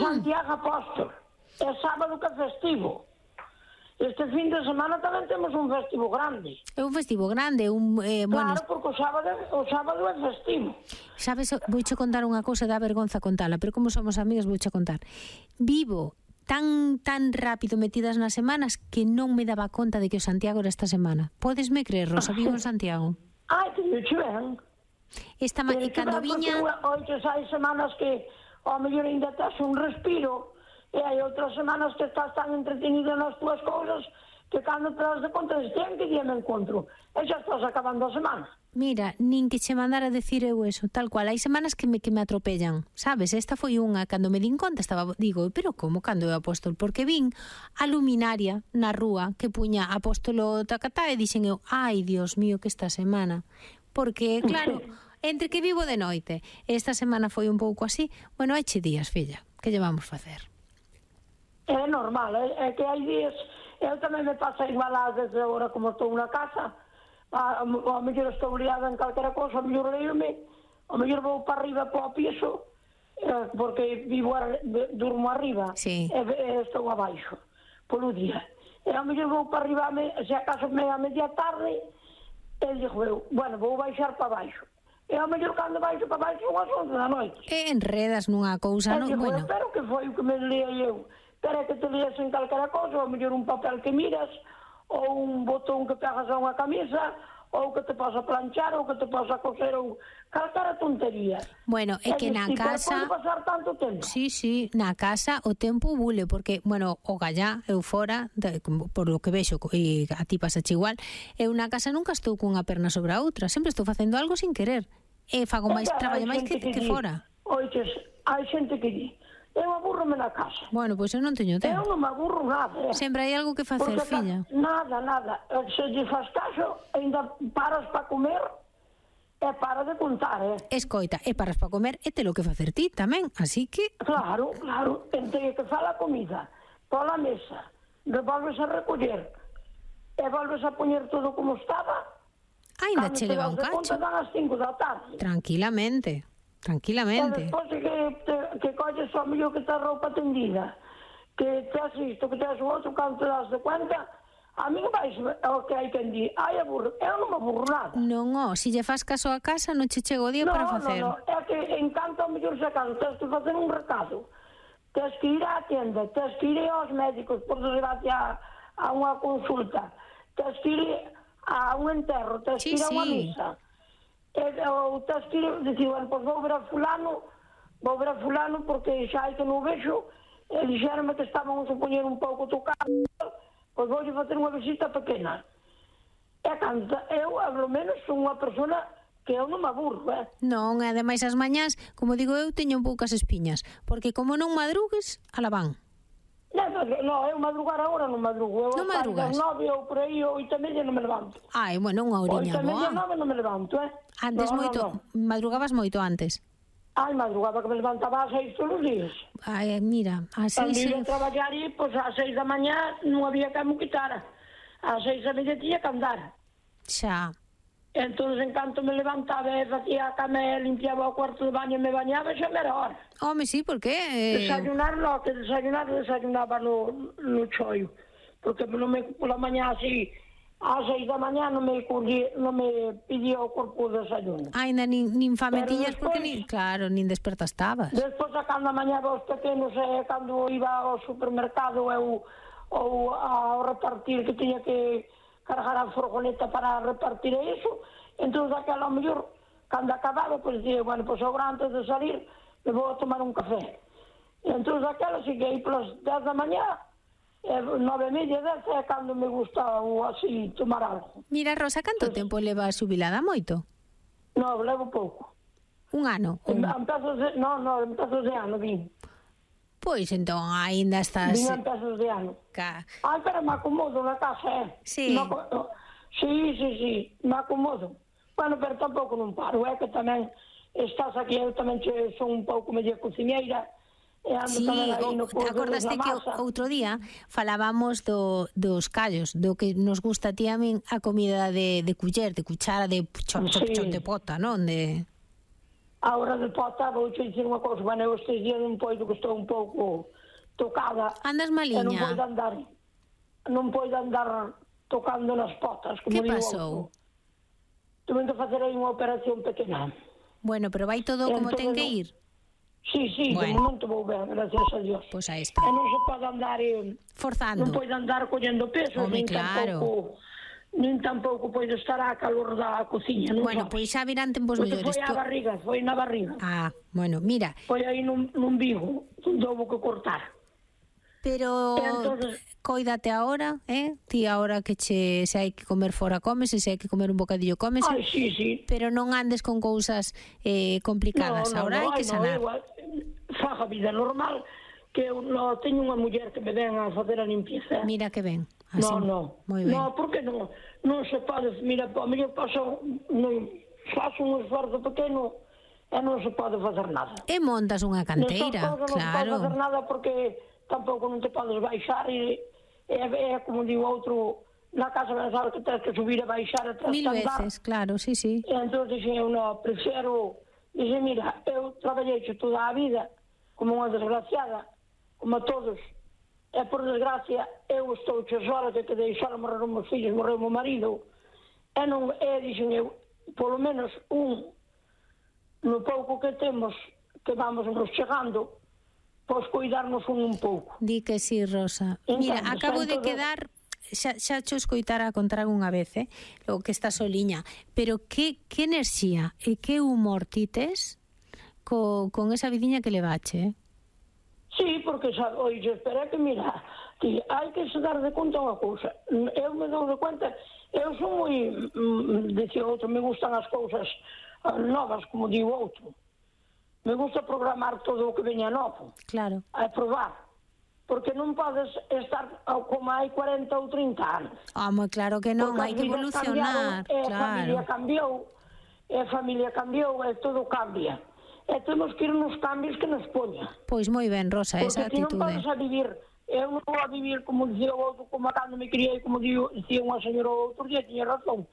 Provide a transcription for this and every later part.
Santiago Apóstol. É sábado que é festivo. Este fin de semana tamén temos un festivo grande. É un festivo grande, Claro, porque o sábado é festivo. Sabes, vouche contar unha cousa, dá vergonza contala, pero como somos amigas vouche contar. Vivo tan rápido metidas nas semanas que non me daba conta de que o Santiago era esta semana. Podesme creer, Rosa, vivo en Santiago. Ai, que dicho ben. Cando viña... Oites, hai semanas que ao mellor ainda tes un respiro, e hai outras semanas que estás tan entretenida nas tuas cousas que cando te das de conta de que día me encontro e xa estás acabando a semana. Mira, nin que che mandara decir eu eso, tal cual. Hai semanas que me atropellan, sabes? Esta foi unha, cando me din conta digo, pero como cando é Apóstol? Porque vin a luminaria na rúa que puña Apóstolo Tacatá e dixen eu, ai, Dios mío, que esta semana. Porque, claro, entre que vivo de noite, esta semana foi un pouco así, bueno, hai che días, filla, que lle vamos facer? É normal, é que hai días, eu tamén me pasa igual ás desde agora como estou na casa, ao mellor estou liada en calquera cosa, ao mellor leio-me, ao mellor vou para arriba para o piso, porque durmo arriba, sí. E estou abaixo, polo día. E ao mellor vou para arriba, se acaso a media tarde, e digo eu, bueno, vou baixar para baixo. E ao mellor cando baixo para baixo, son as 11 da noite. E enredas nunha cousa, non? Bueno, pero que foi o que me leia eu? Pero que te leas en calquera cosa, ou mellor un papel que miras, ou un botón que pegas a unha camisa, ou que te posa planchar, ou que te posa coser, ou calquera tontería. Bueno, é que na casa... Pode pasar tanto tempo. Sí, na casa o tempo bule, porque, bueno, o gallá, eu fora, por lo que vexo, e a ti pasache igual, eu na casa nunca estou cunha perna sobre a outra, sempre estou facendo algo sin querer. E fago máis, traballo máis que fora. Oites, hai xente que di, eu aburro-me na casa. Bueno, pois eu non teño tempo. Eu non me aburro nada. Sempre hai algo que facer, porque filla. Nada. Se lle faz caso, ainda paras para comer e para de contar, Escoita, e paras para comer e te lo que facer ti tamén, así que... Claro. Entre que fa a comida, pola mesa, volves a recoller e volves a poñer todo como estaba, ainda che leva un cacho. Dan as 5 da tarde. Tranquilamente. E despois que colles o mellor que te roupa tendida, que te has isto, que te has o outro, cando te das de cuenta, a mí vais o que hai que dir, ai, aburro, eu non me aburro nada. Non, se lle faz caso a casa, non che chego o día para facer. Non, é que encanta o mellor se cando tens que facer un recado, tens que ir á tienda, tens que ir aos médicos, por desgracia a unha consulta, tens que ir a un enterro, tens que ir a unha misa, ou tens que ir, dicir, bueno, pois vou ver a fulano porque xa hai que non vexo, e dixeronme que estaban a poñer un pouco tocado, pois voulle facer unha visita pequena. E cando eu, ao menos, son unha persona que eu non me aburro, Non, e ademais as mañás, como digo eu, teño poucas espiñas, porque como non madrugues, ala van. Non, eu madrugar agora non madrugo. Non madrugas? 9 ou por aí, 8:30 non me levanto. Ai, bueno, unha horiña boa. 8:30, 9 non me levanto, Antes madrugabas moito antes. Ai, madrugaba que me levantaba ás 6 todos os días. Ai, mira, ás 6... Cando iba a traballar e, pois, ás 6 da mañá non había que me quitara. Ás 6:30 tiña que andar. Xa. Entón, en canto me levantaba e facía a cama e limpiaba o cuarto de baño e me bañaba, xa me era hora. Home, sí, por que? Desayunaba no choio. Porque pola mañá así, ás 6 da mañá non me pedía o corpo o desayuno. Ainda nin fametiñas, porque nin desperta estabas. Despois, a cando a mañá os pequenos, cando iba ao supermercado ou ao repartir, que tiña que cargar a furgoneta para repartir iso, entón aquela ao mellor, cando acababa, pois dicía, bueno, pois agora antes de salir, me vou a tomar un café. Entón aquela, seguei polas 10 da mañá, 9:30, 10, é cando me gusta así tomar algo. Mira, Rosa, canto tempo leva xubilada? Moito? Non, levo pouco. Un ano? Empezos de ano, vim. Pois entón, aínda estás... Vim empezos de ano. Ai, pero me acomodo na casa, Sí. Sí, me acomodo. Bueno, pero tampouco non paro, que tamén estás aquí, eu tamén son un pouco medio cociñeira, e ando tamén aí no curso da acordaste que masa. outro día falábamos dos callos, do que nos gusta a ti a min a comida de culler, de cuchara, de chon de pota, non? a hora de pota, vou che dicir unha cousa, bueno, eu estes días non poido, que estou un pouco tocada. Andas maliña? Non poido andar tocando nas potas, como digo. Que pasou? Tuve que facer aí unha operación pequena. Bueno, pero vai todo como ten que ir? Sí, de momento vou ben, gracias a Dios. Pois aí está. E non se pode andar forzando. Non podo andar collendo peso, nin tampouco podo estar a calor da cociña, non Bueno, pois xa virán tempos mellores. Foi na barriga. Ah, bueno, mira. Foi aí nun bigo, onde houve que cortar. Pero entonces, coídate agora, ti agora que se hai que comer fora comes, se hai que comer un bocadillo comes. Ai, sí. Pero non andes con cousas complicadas, agora hai que sanar. Faja vida normal, que eu teño unha muller que me ven a facer a limpieza. Mira que ben. Así, no. Moi ben. No, porque non se pode, mira, a mí paso, faço un esforzo pequeno e non se pode facer nada. E montas unha canteira, claro. Non se pode facer nada porque tampouco non te podes baixar e como digo outro, na casa pensar que tens que subir e baixar e tens Mil que andar. veces, claro, sí. E entón dixen eu, prefiro, mira, eu traballei toda a vida como unha desgraciada, como a todos, e por desgracia eu estou sola, que quedei sola, morreron meus fillos, morreu meu marido, dixen eu, polo menos no pouco que temos, que vamos nos chegando, pois cuidarnos un pouco. Di que sí, Rosa. Mira, acabo de quedar, xa cho escoitara a contar unha vez, o que está soliña, pero que enerxía e que humor ti tes con esa vidiña que levache, Sí, porque, oixe, espera que, mira, ti, hai que se dar de conta unha cousa. Eu me dou de conta, eu son moi, dicía outro, me gustan as cousas novas, como digo outro. Me gusta programar todo o que veña novo. Claro. A probar. Porque non podes estar como hai 40 ou 30 anos. Moi claro que non, hai que evolucionar. Claro. A familia cambiou, e todo cambia. E temos que ir nos cambios que nos poña. Pois moi ben, Rosa, esa actitude. Porque ti non podes a vivir, eu non vou a vivir como dicía o outro, como cando me criei, como dicía unha señora outro día, tiña razón.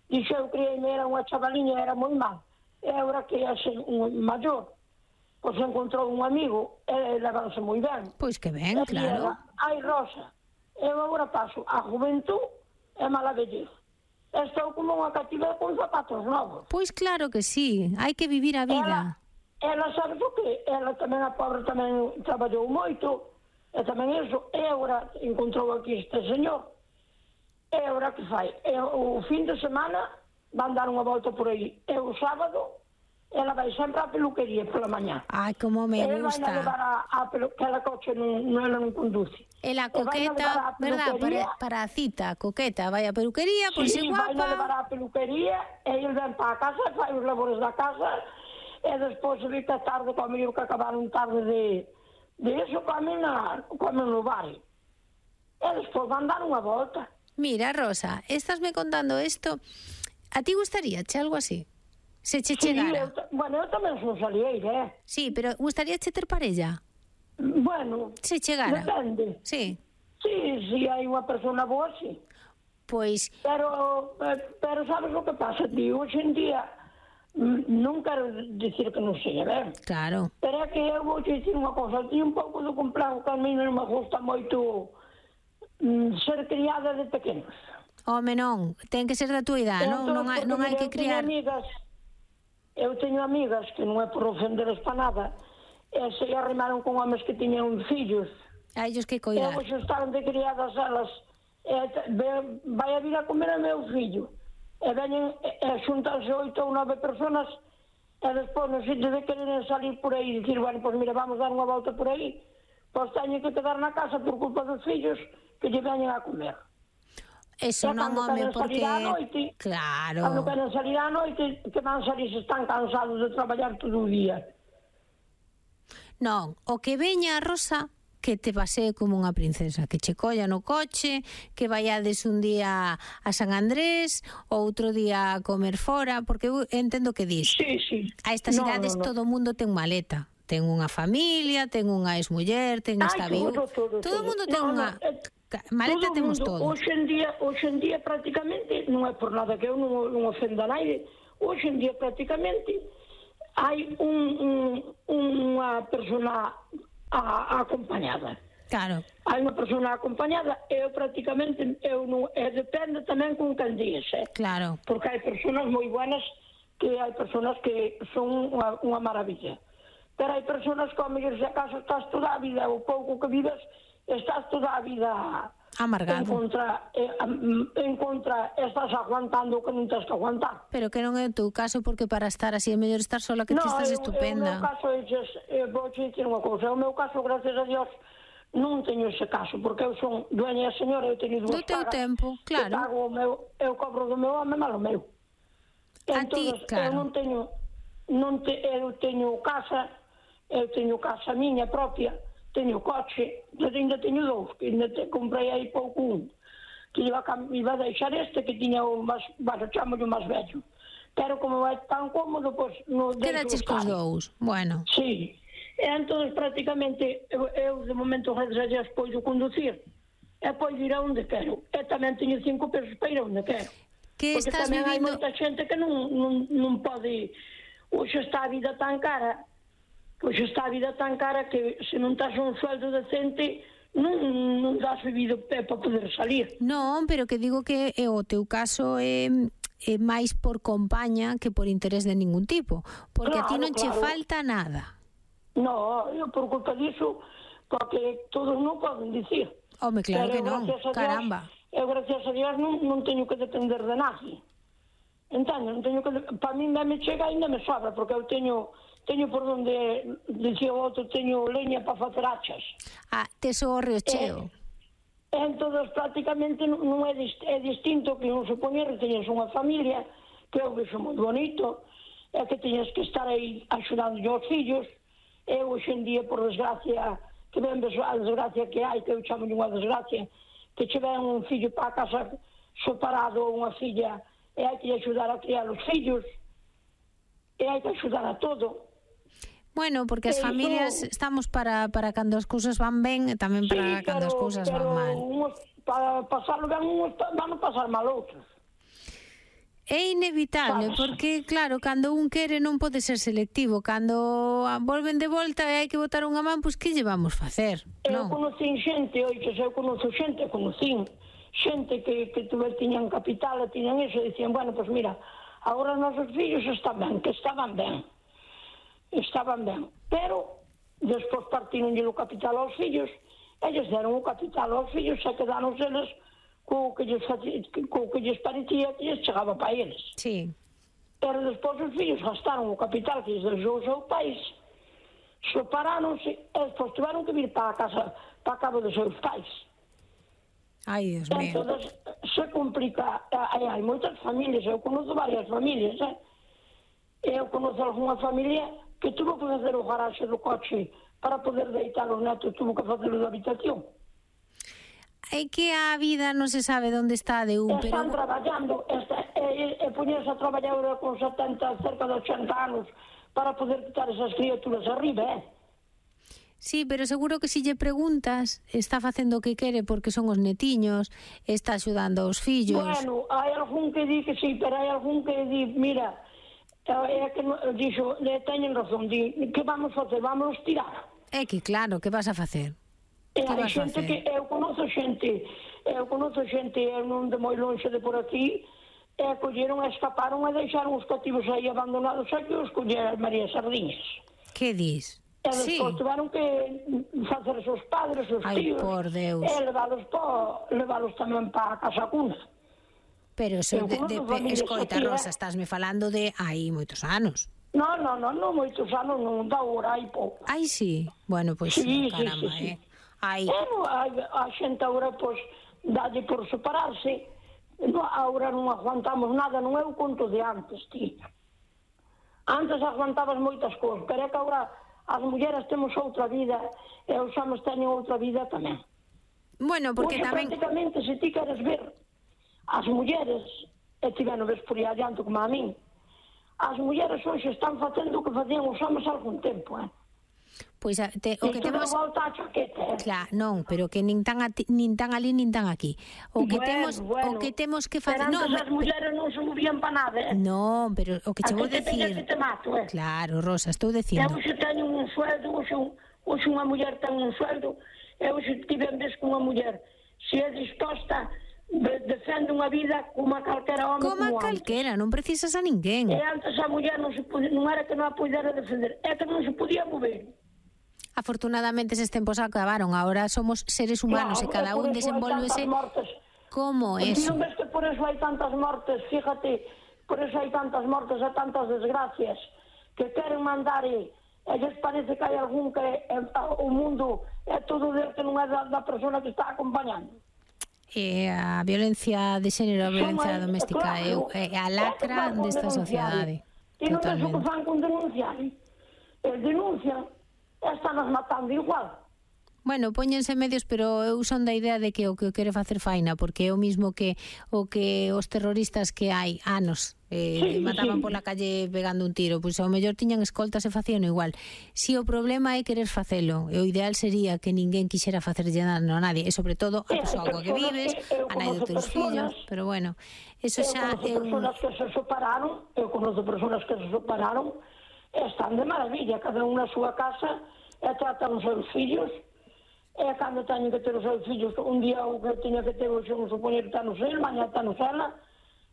Dixe, eu criei-me, era unha chavaliña, era moi mal. E agora que é un maior, pois encontrou un amigo, e levanse moi ben. Pois que ben, claro. Ai, Rosa, eu agora paso a juventud e mala vellez. Estou como unha cativa con zapatos novos. Pois claro que sí, hai que vivir a vida. Ela sabes o que? Ela tamén, a pobre, tamén traballou moito, e tamén iso, e agora encontrou aquí este señor, e agora que fai? O fin de semana van dar unha volta por aí, e o sábado ela vai sempre á peluquería pola mañá. Ai, como me gusta. Ela vai levar a peluquería, que ela coche ela non conduce. Ela coqueta, verdad, para a cita, coqueta, vai a peluquería, pois é guapa. Sí, vai levar a peluquería, e ele ven para a casa, fai os labores da casa, e despois vi que tarde, como eu que acabaron tarde de eso, comen no bar. E despois van dar unha volta. Mira, Rosa, estásme contando isto, a ti gustaríache algo así? Se che chegara? Bueno, eu tamén son salieira, Sí, pero gustaríache ter parella? Bueno, se chegara. Depende. Sí. Sí, hai unha persona boa, sí. Pois... Pero sabes o que pasa, tío? Hoxe en día, non quero dicir que non sei, ben? Claro. Pero é que eu vou dicir unha cosa, tío, un pouco do complejo que a mí non me gusta moito ser criada de pequenos. Home, non, ten que ser da túa idade, non hai que criar... Eu teño amigas que non é por ofenderes para nada, e se arrimaron con homes que tiñan fillos. A ellos que coidar. E hoxe estaban de criadas elas, vai a vir a comer a meu fillo. E veñen, xuntanse 8 ou 9 personas, e despois, no sitio de querer salir por aí, dicir, bueno, pois mira, vamos dar unha volta por aí, pois teñen que quedar na casa por culpa dos fillos que lle veñen a comer. Eso non, home, porque... Claro. Cando queren salir á noite, que van salir se están cansados de traballar todo o día. Non, o que veña, Rosa, que te pasee como unha princesa, que che colla no coche, que vaiades un día a San Andrés, outro día a comer fora, porque eu entendo que dis. Sí. A estas idades todo o mundo ten maleta. Ten unha familia, ten unha exmuller, ten esta viúva. Todo o mundo ten unha... Maleta temos todo. Hoxe en día prácticamente, non é por nada que eu non ofenda a naide, hoxe en día prácticamente hai unha persona acompañada. Claro. Hai unha persona acompañada e eu prácticamente depende tamén con quen días, Claro. porque hai personas moi buenas que hai personas que son unha maravilla. Pero hai personas que, ao mellor, se acaso estás toda a vida, o pouco que vives, estás toda a vida amargado. En contra, estás aguantando o que non tens que aguantar. Pero que non é o teu caso, porque para estar así é mellor estar sola, que ti estás estupenda. No, o meu caso vou dicir unha cousa, o meu caso, gracias a Dios, non teño ese caso, porque eu son dueña señora, eu teño dúas pagas. Do teu tempo, claro. Eu cobro do meu home, malo meu. Entón, claro. Eu teño casa miña propia, teño coche, ainda teño dous, que ainda comprei aí pouco que iba a deixar que tiña o máis, chamolle o máis vello. Pero como é tan cómodo, pois non deixo. Quedaches cos dous, bueno. Sí. E entón, prácticamente, eu de momento, gracias a Dios, poido conducir e poido ir a onde quero. E tamén teño 5 pesos para ir a onde quero. Que porque estás tamén vivindo... hai moita xente que non pode... Hoxe está a vida tan cara, que se non tás un sueldo decente, non das vivido para poder salir. Non, pero que digo que o teu caso é máis por compaña que por interés de ningún tipo. Porque a ti non che falta nada. No, eu por culpa disso, porque todos non poden dicir. Home, claro que non, caramba. Eu, gracias a Dios, non teño que depender de nadie. Entendo, non teño que... Para mí me chega e ainda me sobra, porque eu teño por onde, dicía o outro, teño leña para facer hachas. Tes o río cheo. Entón, prácticamente non é distinto que non se poñer que teñes unha familia, que eu vexo moi bonito, e que teñes que estar aí axudando aos fillos. Eu, hoxe en día, por desgracia, que ven a desgracia que hai, que eu chamo unha desgracia, que che ven un fillo para a casa separado ou unha filla, e hai que axudar a criar os fillos, e hai que axudar a todo. Bueno, porque as familias estamos para cando as cousas van ben e tamén para cando as cousas van mal. Para pasarlo ben, van a pasar mal outros. É inevitable, porque, claro, cando un quere non pode ser selectivo. Cando volven de volta e hai que botar unha man, pois que lle vamos facer? Eu conocín xente, xente que tiñan capital e tiñan iso, e dicían, bueno, pois mira, agora os nosos fillos estaban ben, pero despois partironlle o capital aos fillos, eles deron o capital aos fillos e quedaron eles co que lles parecía que lles chegaba para eles. Sí. Pero despois os fillos gastaron o capital que lles deixou o seu país, separáronse e despois tiveron que vir para a casa, para a cabo dos seus pais. Ai, Dios mío. Entón, se complica. Hai moitas familias, eu conozco varias familias, Eu conozco algunha familia que tuvo que facer o garaxe do coche para poder deitar os netos, tuvo que facer da habitación. É que a vida non se sabe onde está de un, pero... Están traballando, e poñerse a traballar ahora con 70, cerca de 80 anos, para poder quitar esas criaturas arriba, Sí, pero seguro que se lle preguntas, está facendo o que quere porque son os netiños, está axudando aos fillos... Bueno, hai algún que di que sí, pero hai algún que di, mira, é que dixo, teñen razón, di, que vamos facer? Vamos tirar. É que claro, que vas a facer? E hai xente que, eu conozo xente, non de moi longe de por aquí, e colleron, escaparon e deixaron os cativos aí abandonados aquí, os colleron María Sardiñas. Que dis? E despois tiveron que facer os seus padres, os tíos, por Deus. E leválos tamén para a Casa Cuna. Pero eso escoita, Rosa, estásme falando de aí moitos anos. Non, moitos anos, non da hora, hai pouco. Ai, sí? Bueno, pois, caramba, Bueno, a xente agora, pois, dalle por separarse, agora non aguantamos nada, non é o conto de antes, ti. Antes aguantabas moitas cousas, pero é que agora as mulleres temos outra vida e os homens teñen outra vida tamén. Bueno, porque tamén... Prácticamente, se ti queres ver as mulleres, e ti non ves por aí adiante como a min, as mulleres hoxe están facendo o que facían os homens algún tempo, Pois o que temos... volta a chaqueta. Claro, non, pero que nin tan ali nin tan aquí. O que temos que facer... Pero antes as mulleres non se movían para nada, Non, pero o que che vou decir... Que te mato, Claro, Rosa, estou dicindo. Eu se teño un sueldo, hoxe unha muller ten un sueldo, eu se tive en vez con unha muller, se é disposta, defende unha vida como a calquera home como a calquera, non precisas a ninguén. E antes a muller non era que non a pudera defender, é que non se podía mover. Afortunadamente eses tempos acabaron, ahora somos seres humanos, claro, e cada un desenvolvese como eso. Non ves que por eso hai tantas mortes, fíjate, por eso hai tantas mortes e tantas desgracias, que queren mandar e lles parece que hai algún que o mundo é todo del que non é da persona que está acompañando. A violencia de xénero, a violencia doméstica é a lacra desta sociedade. E non ves o que fan con denunciar? Denuncian, están matando igual. Bueno, póñense medios, pero eu son da idea de que o que quere facer faina, porque é o mismo que os terroristas que hai anos mataban pola calle pegando un tiro, pois ao mellor tiñan escoltas e facían igual. Si o problema é querer facelo, e o ideal sería que ninguén quixera facerlle dano a nadie, e sobre todo a persoa coa que vives, a nai dos teus fillos, pero bueno, eso xa é un... Eu conozco persoas que se separaron, están de maravilla, cada un na súa casa, e tratan os seus fillos, e cando teñen que ter os seus fillos, un día o que teña que ter o seu supoñer está no sel, mañá está no sela,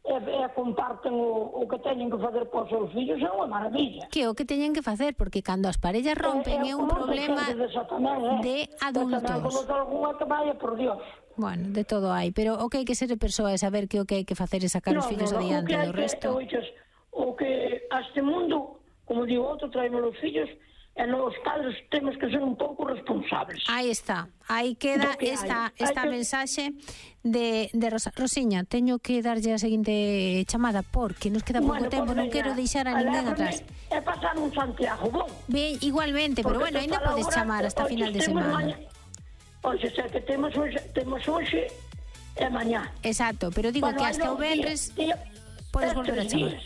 e comparten o que teñen que fazer para os seus fillos, é unha maravilla. Que o que teñen que facer, porque cando as parellas rompen é un problema de adultos. Tamén conozco algunha que vaya, por Dios. Bueno, de todo hai, pero o que hai que ser de persoa é saber que o que hai que facer é sacar os fillos adiante do resto. O que a este mundo, como digo outro, traemos os fillos, e nos padres temos que ser un pouco responsables. Aí está, aí queda esta mensaxe de Rosa. Rosiña, teño que darlle a seguinte chamada porque nos queda pouco tempo, non quero deixar a ninguén atrás. É pasar un Santiago, bon? Ben, igualmente, pero bueno, ainda podes chamar hasta final de semana. Oxe, sei que temos hoxe e mañá. Exacto, pero digo que hasta o venres podes volver a chamar.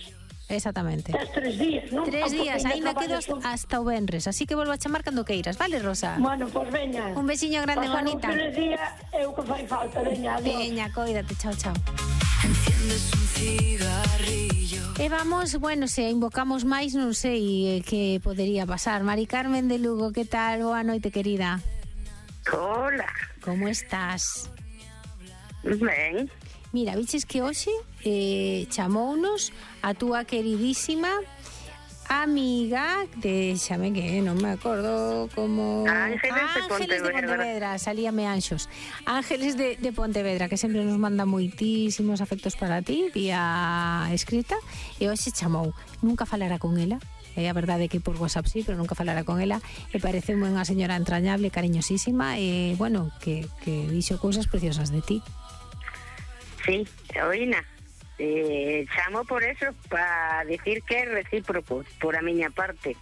Exactamente. 3 días, non? 3 días, ainda quedo hasta o venres, así que volvo a chamar cando queiras, vale, Rosa? Bueno, pois veña. Un besiño grande, bonita. Pasar un día é o que fai falta, veña, adiós. Veña, coídate, chao, chao. Enciendes un cigarrillo. E vamos, bueno, se invocamos máis, non sei que podería pasar. Mari Carmen de Lugo, que tal? Boa noite, querida. Hola. Como estás? Ben. Mira, viches que hoxe chamounos a túa queridísima amiga, déxame que non me acordo como... Ángeles de Pontevedra, salíame Anxos. Ángeles de Pontevedra, que sempre nos manda moitísimos afectos para ti, vía escrita, e hoxe chamou. Nunca falara con ela, é a verdade que por WhatsApp sí, pero nunca falara con ela, e parece unha señora entrañable, cariñosísima, e, bueno, que dixo cousas preciosas de ti. Sí, oína, chamo por eso, para dicir que é recíproco, por a miña parte.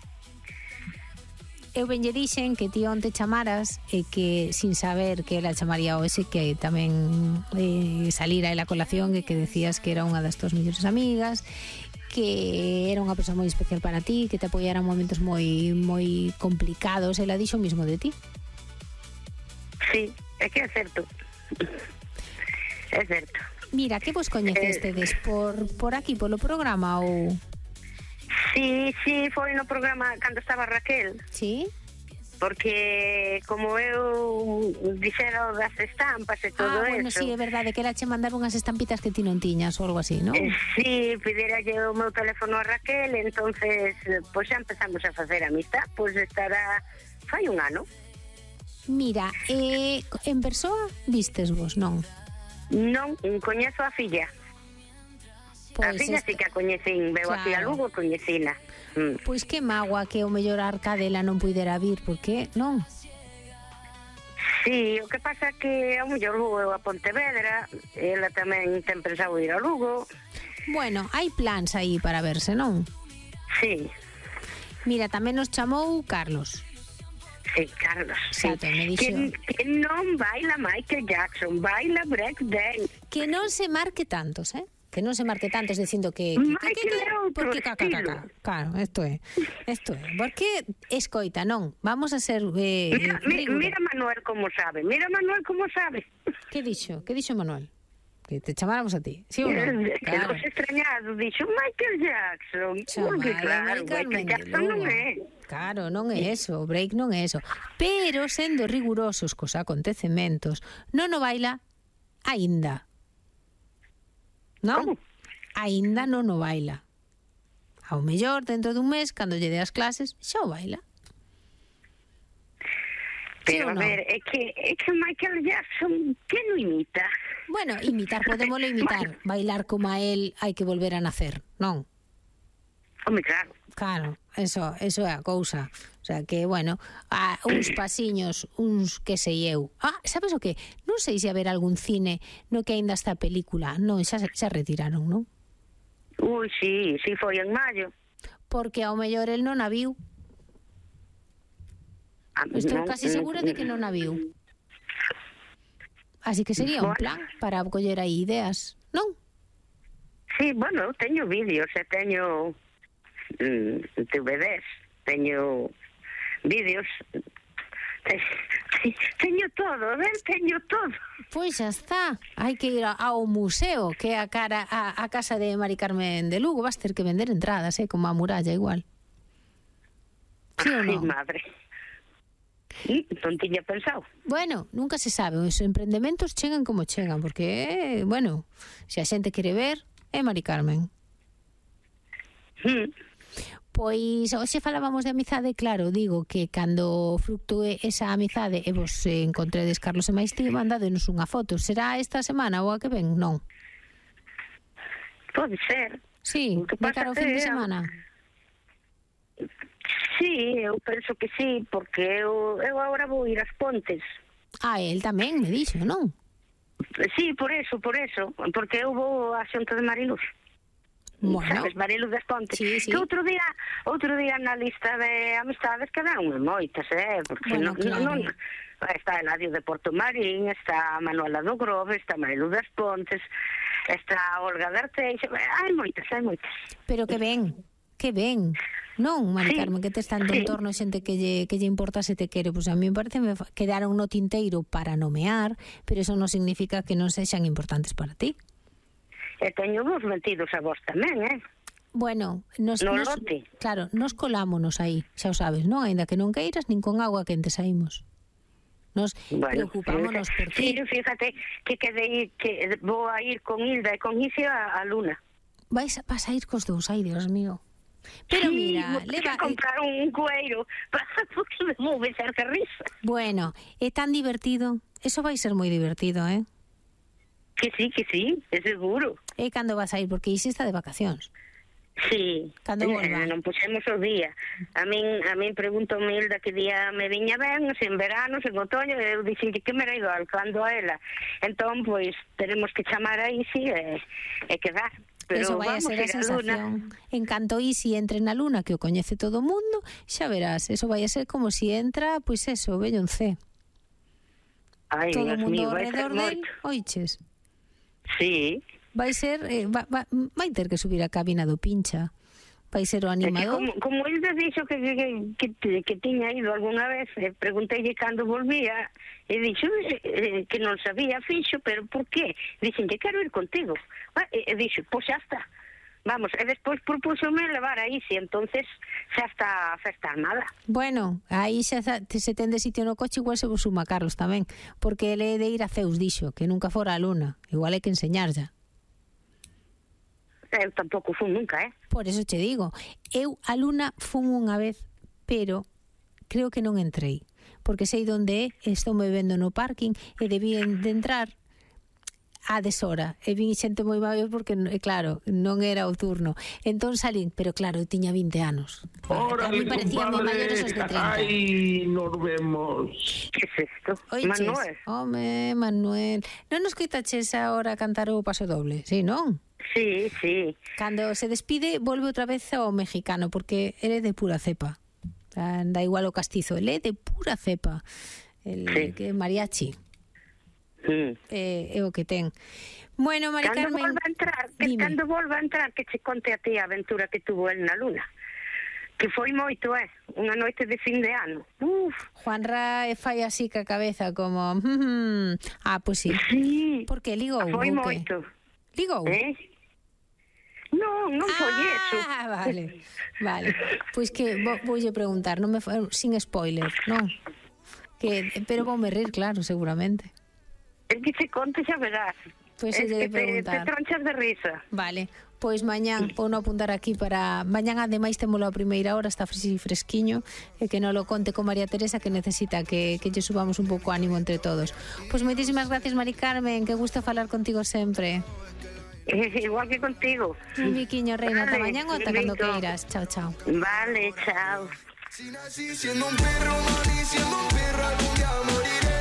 Eu ben lle dixen que ti onte chamaras e que sin saber que ela chamaría hoxe, que tamén salira a colación e que decías que era unha das tuas mellores amigas, que era unha persoa moi especial para ti, que te apoiara en momentos moi complicados. Ela dixo o mismo de ti. Sí, é que é certo. É certo. Mira, que vos coñecestedes por aquí, polo programa ou... Sí, foi no programa cando estaba Raquel. Sí? Porque como eu dixera das estampas e todo eso... bueno, sí, é verdade, que era che mandar unhas estampitas que ti non tiñas ou algo así, non? Sí, pideralle o meu teléfono a Raquel, entonces, pois xa empezamos a facer amistad, pois estará... fai un ano. Mira, en persoa vistes vos, non? Non, coñezo a filla. Pois a filla sí que a coñecín, veo claro. Aquí a Lugo, coñecina. Pois que mágoa que o mellor a Arcadela non puidera vir, porque non? Sí, o que pasa que ao mellor vou a Pontevedra, ela tamén ten pensado ir a Lugo. Bueno, hai plans aí para verse, non? Sí. Mira, tamén nos chamou Carlos. Sí, Carlos, Exacto, sí. Que non baila Michael Jackson, baila breakdance. Que non se marque tantos, que non se marque tanto dicindo que porque caca. Claro, isto é. Porque escoita, non, vamos a ser mira Manuel como sabe. Que dixo Manuel? Que te chamáramos a ti, sí ou non? Claro. Os extrañados, dixo Michael Jackson. Porque claro, Michael Jackson non é. Claro, non é eso, o break non é eso. Pero, sendo rigurosos cos acontecementos, non o baila aínda. Non? Como? Aínda non o baila. Ao mellor, dentro dun mes, cando lle dé as clases, xa o baila. Pero, a ver, é que Michael Jackson, que non imita? Bueno, podémoslo imitar. Bailar como a él hai que volver a nacer, non? Home, claro. Claro, eso é a cousa. O sea que, bueno, uns pasiños, uns que sei eu. Sabes o que? Non sei se haber algún cine no que aínda está a película. Non, xa retiraron, non? Ui, sí, foi en maio. Porque ao mellor el non a viu. Estou casi segura de que non a viu. Así que sería un plan para coller aí ideas, non? Sí, bueno, teño vídeos, teño DVDs, teño vídeos, teño todo, teño todo. Pois xa está, hai que ir ao museo, que é a casa de Mari Carmen de Lugo. Vas ter que vender entradas, como a muralla igual. Sí ou non? Ai, madre. Non tiña pensado. Bueno, nunca se sabe, os emprendementos chegan como chegan, porque, bueno, se a xente quere ver, é Mari Carmen. Pois, hoxe falábamos de amizade, claro, digo que cando fructúe esa amizade e vos encontredes Carlos e Maistí, mandadenos unha foto. Será esta semana ou a que ven? Non? Pode ser. Sí, de cara ao fin de semana. Sí, eu penso que sí, porque eu agora vou ir ás Pontes. El tamén me dixo, non? Sí, por eso, porque eu vou á Xunta de Mariluz. Bueno. Sabes, Mariluz das Pontes. Sí. Que outro día na lista de amistades quedaron moitas, porque bueno, claro. non está Eladio de Porto Marín, está Manuela do Grove, está Mariluz das Pontes, está Olga de Arteixo, hai moitas. Pero que ben. Non, Mari Carmen, que te están en torno xente que lle importa se te quere. Pois a mí me parece que quedaron no tinteiro para nomear, pero eso non significa que non sexan importantes para ti. E teño vos metidos a vos tamén, Bueno, nos colámonos aí, xa o sabes, non? Ainda que non queiras, nin con agua quente saímos. Nos preocupámonos por ti. Sí, fíjate que vou a ir con Hilda e con Isi a Luna. Vas a ir cos dous, ai, Dios mío. Pero mira, leva a comprar un cueiro porque me vou besar que risa. Bueno, é tan divertido. Eso vai ser moi divertido, Que sí, é seguro. E cando vas a ir? Porque Isi está de vacacións. Sí, cando volva. Non puxemos o día. A min preguntou Hilda que día me viña ben, se en verano, se en otoño, eu dixen que me era igual cando a ela. Entón, pois, teremos que chamar a Isi e quedar. Pero eso vai a ser a sensación. En canto Isi entre na Luna, que o coñece todo o mundo, xa verás, eso vai a ser como si entra, pois eso, Belloncé. Ai, todo o mundo mío, ao redor del, oiches. Sí. Vai ser, vai ter que subir a cabina do Pincha. Vai ser o animador. Como ele dixo que tiña ido algunha vez, pregunteille cando volvía, e dixo que non sabía fixo, pero por qué? Dixen que quero ir contigo. E dixo, pois xa está. Vamos, e despois propúxome levar a Isi, entonces xa está a festa armada. Bueno, aí xa se ten de sitio no coche, igual se vos suma Carlos tamén, porque ele é de ir a Zeus, dixo, que nunca fora a Luna. Igual hai que enseñarlla. Eu tampouco fun nunca, Por eso che digo, eu a Luna fun unha vez, pero creo que non entrei, porque sei onde estou me vendo no parking e debían de entrar a deshora, e vin xente moi maior porque, claro, non era o turno. Entón salín, pero claro, eu tiña 20 anos. A mí parecían moi maiores os de 30. Ai, nos vemos. Que é isto? Oiches, Manuel. Home, Manuel, non nos quitaches agora cantar o paso doble, sí, non? Sí. Cando se despide, volve outra vez ao mexicano, porque ele é de pura cepa. Da igual o castizo, ele é de pura cepa. Que é mariachi. É o que ten. Bueno, Mari Carmen, cando volva a entrar, que che conte a ti a aventura que tuvo el na Luna. Que foi moito, unha noite de fin de ano. Juanra fai así ca cabeza como... pois sí. Sí. Por que ligou? Foi moito. Ligou? Non foi eso. Vale. Pois que voulle preguntar, non me sin spoiler, non? Pero voume rir, claro, seguramente. El que se conte xa verás. Pois se lle preguntar. Te tronchas de risa. Vale. Pois mañán, vou non apuntar aquí para... Mañán, ademais, témolo a primeira hora, está fresquiño, e que non lo conte con María Teresa, que necesita que lle subamos un pouco ánimo entre todos. Pois moitísimas gracias, Mari Carmen, que gusta falar contigo sempre. Igual que contigo. Un biquiño, reina, ata mañán ou ata cando queiras. Chao, chao. Vale, chao. Si nací siendo un perro, morí siendo un perro, algún día moriré.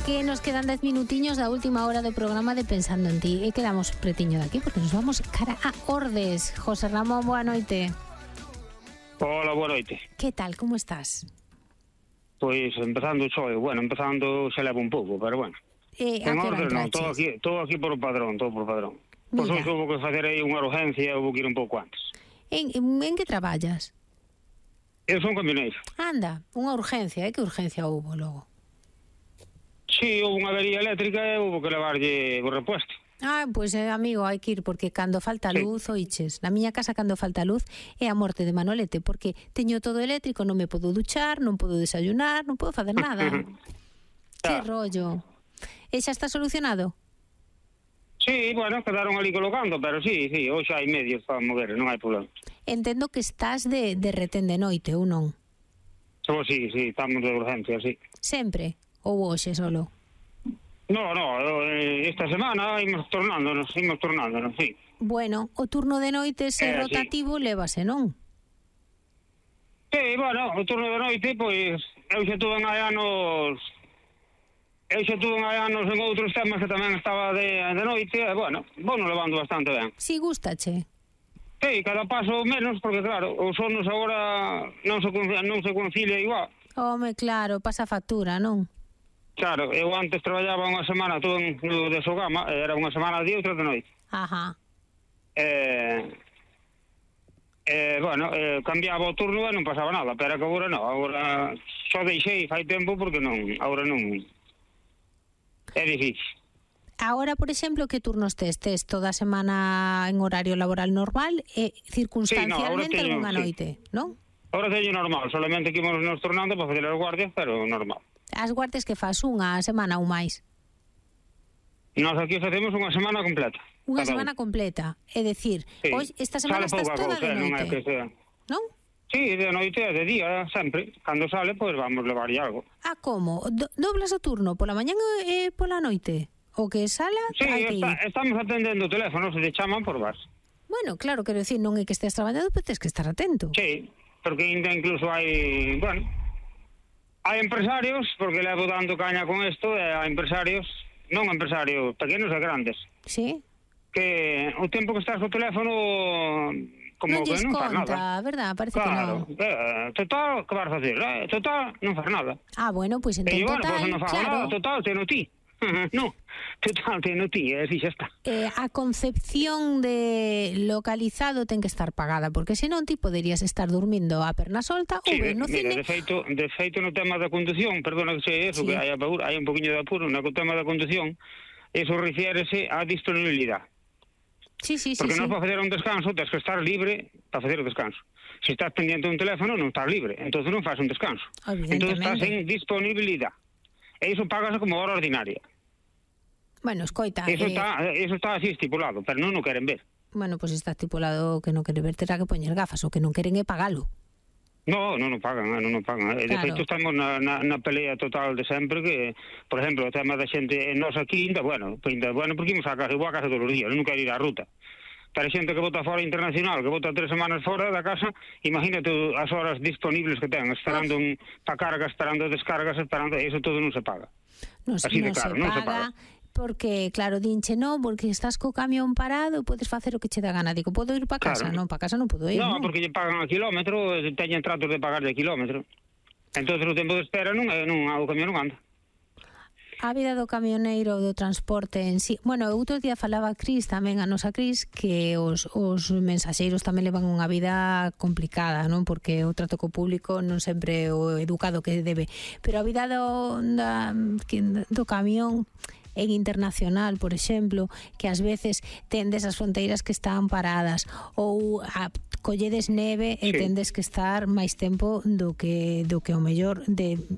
Que nos quedan 10 minutiños da última hora do programa de Pensando en Ti, e quedamos pretiño de aquí porque nos vamos cara a Ordes. José Ramón, boa noite. Hola, boa noite. Que tal, como estás? Pois empezando xa leva un pouco, pero bueno. A que hora entraches? Todo aquí por padrón. Pois hoxe houve que facer aí unha urgencia, houve que ir un pouco antes. En que traballas? Eu son camioneiro. Anda, unha urgencia, que urgencia houve logo? Sí, houve unha avería eléctrica e houve que levarlle o repuesto. Pois amigo, hai que ir, porque cando falta luz, oiches, na miña casa cando falta luz é a morte de Manolete, porque teño todo eléctrico, non me podo duchar, non podo desayunar, non podo facer nada. Que rollo. E xa está solucionado? Sí, bueno, quedaron ali colocando, pero sí, hoxe hai medios para mover, non hai problema. Entendo que estás de retén de noite, ou non? Sí, estamos de urgencia, sí. Sempre? Ou hoxe solo? No, esta semana imos tornándonos, sí. Bueno, o turno de noite se rotativo lévase, non? Sí, bueno, o turno de noite, pois, eu xa tuve anos en outros temas que tamén estaba de noite, e, bueno, vou levando bastante ben. Si, gustache? Sí, cada paso menos, porque, claro, os sonos agora non se concilia igual. Home, claro, pasa factura, non? Claro, eu antes traballaba unha semana todo de Sogama, era unha semana de outra de noite. Ajá. Cambiaba o turno e non pasaba nada, pero que agora non, agora só deixei fai tempo porque agora non é difícil. Agora, por exemplo, que turnos tes? Tes toda a semana en horario laboral normal e circunstancialmente algunha noite, non? Agora teño normal, solamente que ímonos nos tornando para fazer as guardias, pero normal. As guardias que faz unha semana ou máis? Nós aquí facemos unha semana completa. Unha semana completa, é dicir, hoxe esta semana estás toda de noite, non? Sí, de noite e de día, sempre. Cando sale, pois vamos levarlle algo. Como? Doblas o turno pola mañá e pola noite? O que sala? Sí, estamos atendendo o teléfono, se te chaman por vas. Bueno, claro, quero dicir, non é que estés traballando, pero tens que estar atento. Sí, porque incluso hai, hai empresarios, porque levo dando caña con isto, e hai empresarios, non empresarios pequenos e grandes. Sí. Que o tempo que estás co teléfono como non que non faz conta, nada. verdad? Parece que non. Total, que vas a facer? Total, non faz nada. Bueno, pois entón total, non faz nada, total, teno ti. No, total, teno ti, así xa está. A concepción de localizado ten que estar pagada, porque senón ti poderías estar dormindo a perna solta ou ben no cine. De feito no tema da condución, perdona que sei eso, que hai un poquinho de apuro no tema da condución, eso refiérese á disponibilidade. Sí. Porque non para facer un descanso tens que estar libre para facer o descanso. Se estás pendiente dun teléfono non estás libre, entonces non faz un descanso. Entonces estás en disponibilidade. E iso pagas como hora ordinaria. Bueno, escoita... Eso está así estipulado, pero non o queren ver. Bueno, pois está estipulado que non quere ver, terá que poñer gafas, o que non queren é pagalo. Non pagan. De feito, estamos na pelea total de sempre que, por exemplo, o tema da xente en nos aquí, bueno, porque imos a casa todos os días, non quero ir á ruta. Pero a xente que vota fora internacional, que vota 3 semanas fora da casa, imagínate as horas disponibles que ten, esperando para cargas, esperando descargas, eso todo non se paga. Así de claro, non se paga. Porque, claro, dinche non, porque estás co camión parado e podes facer o que che dá gana. Digo, podo ir para casa? Non, para casa non podo ir. Non, porque lle pagan a kilómetro, teñen tratos de pagar de kilómetro. Entón, o tempo de espera o camión non anda. A vida do camioneiro, do transporte en sí. Bueno, outro día falaba Cris, tamén a nosa Cris, que os mensaxeiros tamén levan unha vida complicada, non? Porque o trato co público non sempre é o educado que debe. Pero a vida do camión en internacional, por exemplo, que ás veces tendes as fronteiras que están paradas, ou colledes neve e tendes que estar máis tempo do que o mellor